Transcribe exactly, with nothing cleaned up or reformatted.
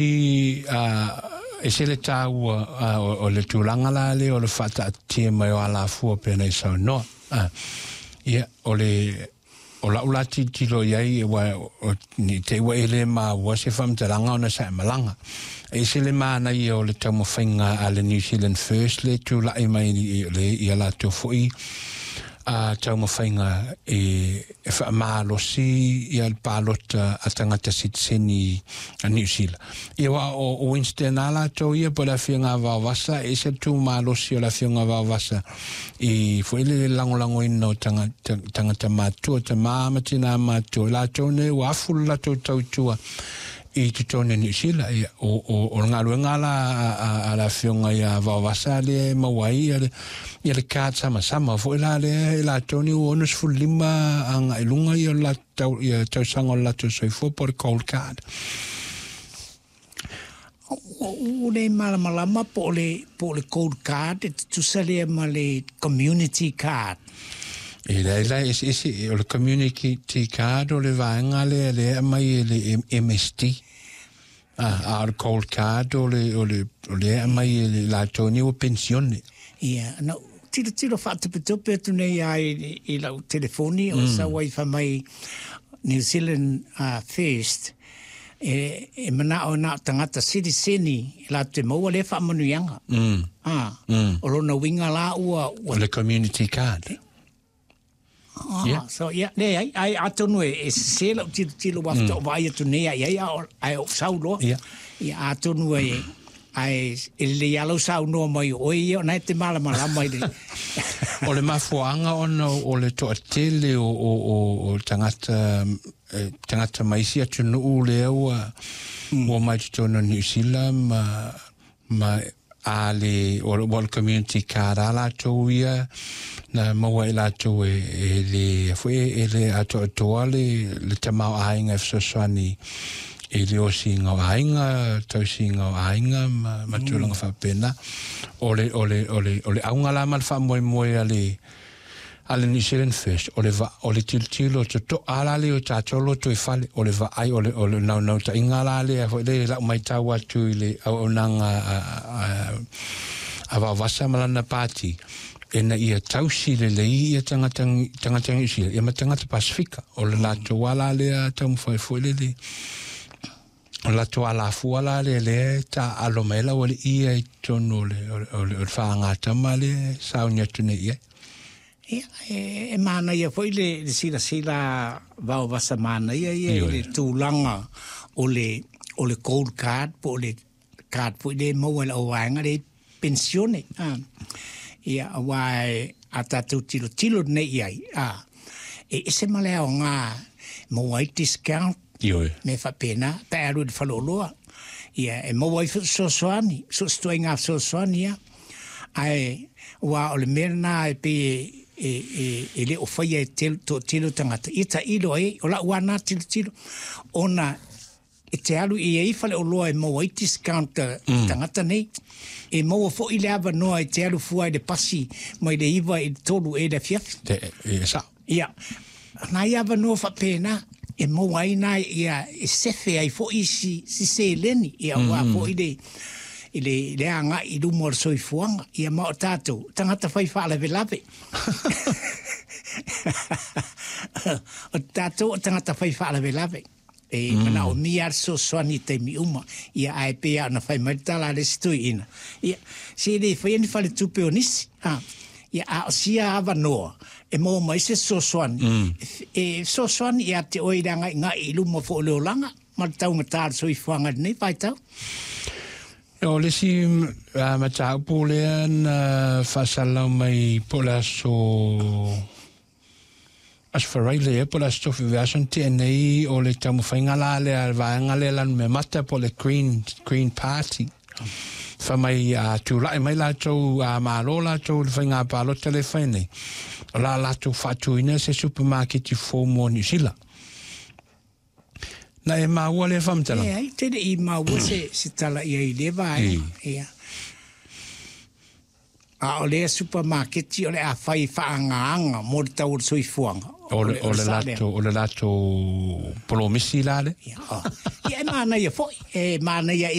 E se le tāua o le tulaga la lea o le faataatia mai o alafua pei ona e saunoa. Ia, o le o lau la tilotilo i ai, ua ni te ua e le maua se faamatalaga ona sa e malaga. E ese le manaia o le taumafaiga a le New Zealand First le tula'i mai le ia latou fo'i a taumafaiga e e faamalosi ia le palota a tagata sitiseni a Niu Sila. Ia aua o Winston a latou ia po o le afioga a Vaovasa, e ese le tumalosi o le afioga a Vaovasa i foi le lagolagoina o tagata tagata matutua, tamā ma tinā matutua, i latou nei ua afu le latou tautua i totonu o Niu Sila. Ia, o, o, o le galuega la a, a, a le afioga ia Vaovasa lea e maua ai ia le, ia le card samasama foi la lea e latou nei ua ono lima agai i luga ia o le latou ia tausaga o le latou soifua po o le gold card. Ua le malamalama po o le, po o le gold card e tutusa lea ma le community card. E leai la, e eseese. O le community card o le vaega lea lea e aumai e le M S D. A, a o le gold card o le, o le, o lea e aumai e le latou nei ua penisione. Ia, na ou tilotilo faatopetope atu nei lava i, i lau telefoni o sau ai fai mai New Zealand uh, First, e, e manao na o tagata sitiseni e latou te maua lea faamanuiaga. Mm. Ah, Mm. o lona uiga la ua, ua O le community card. Ah, Yeah. so ia, leai, ai atonu e, e sese lau tilotilo ua faatoa vaai atu nei ai ai, a o- ae ou sau loa. Yeah. Ia atonu e, ae e lelei lava lau saunoa mai o oe ia, o na e te malamalama i le O le mafuaaga ona o le toatele o, o, o, o tagata, eh, tagata mai isi atunuu lea ua, ua mai totonu o Niu Sila ma, ma a le, o le, o le community card a latou ia, na maua e latou e, e le, foi e le atoatoa le, le tamaoaiga e fesoasoani i le osiga o aiga, tausiga o aiga ma, ma tulaga faapena. O le, o le, o le, o le auga la ma le faamoemoe a le, a le New Zealand First, o le, va, o le tilotilo totoa la lea o tatou loto i fale, o le vaai, o le, o le naunautaiga la lea foi le lau maitau atu i le auaunaga a, a, a Vaovasa ma lana pati, ina ia tausi lelei ia tagata tagata Niu Sila, ia ma tagata Pasifika. O le latou ala lea taumafai foi lele, o le latou alafua la lea lea e taaalo mai ai le aualii ia i totonu o le, o le, o le, o le faagatama lea e sauni atu nei i ai. Ia, e, e manaia foi le, le silasila Vaovasa manaia ia i Ioe. le tulaga o le, o le gold card po o le card foi lea e maua e le auvaega le penisione. Ah. Ia, aua e a tatou tilotilo nei i ai, ah, e ese ma le aoga maua ai discount Ioe. me faapena pe a alu i le faleoloa. Ia, e maua ai fesoasoani, so o se ituaiga fesoasoani ia. Ae aua o le mea lena e pei e, e, e, e le o faia e tele, toatele o tagata, ia tailo ai, o lau lava na tilotilo, ona e te alu i ai faleoloa e maua ai discount a tagata nei. E maua foi le avanoa e te alu fua i le pasi mai le iva i le tolu e le afiafi. Te, e sao. Ia, nai avanoa faapena e maua ai nai ia e sefe ai foi si, si seleni, ia aua foi le, i le, le agai i luma o le soifuaga. Ia ma o tatou, tagata fai faalavelave. O tatou o tagata fai faalavelave. E manaomia le fesoasoani i taimi uma. Ia ae pei lava ona fai mai le tala a le isi toeaina. Ia, se le faia ni faletupe o nisi. Ah, ia, a o sia avanoa e maua mai se fesoasoani. E fesoasoani ia te oe i le agaigai i luma foi o le olaga ma le taugata o le soifuaga i lenei vaitau. O le isi uh, mataupu lea na faasalalau mai po o le aso Aso Faraile ea po o le aso Tofi vaiaso na tea nei, o le taumafaiga la lea a le vaega lea Lanumemata po o le Green, Green Party. Fai mai a tulai mai latou, a malo latou i le faiga palota lea e fai nei, o la latou faatuina se supermarket fou mo Niu Sila. Na e maua lea faamatalaga? Leai, te le i maua se, se tala i ai i lea vaega. Ia. A o lea supamaketi o le a fai faagaaga mo le tau o le soifuaga. O le o le latou o le latou polomisi la le. Ia, oh. Ia e manaia foi, e manaia.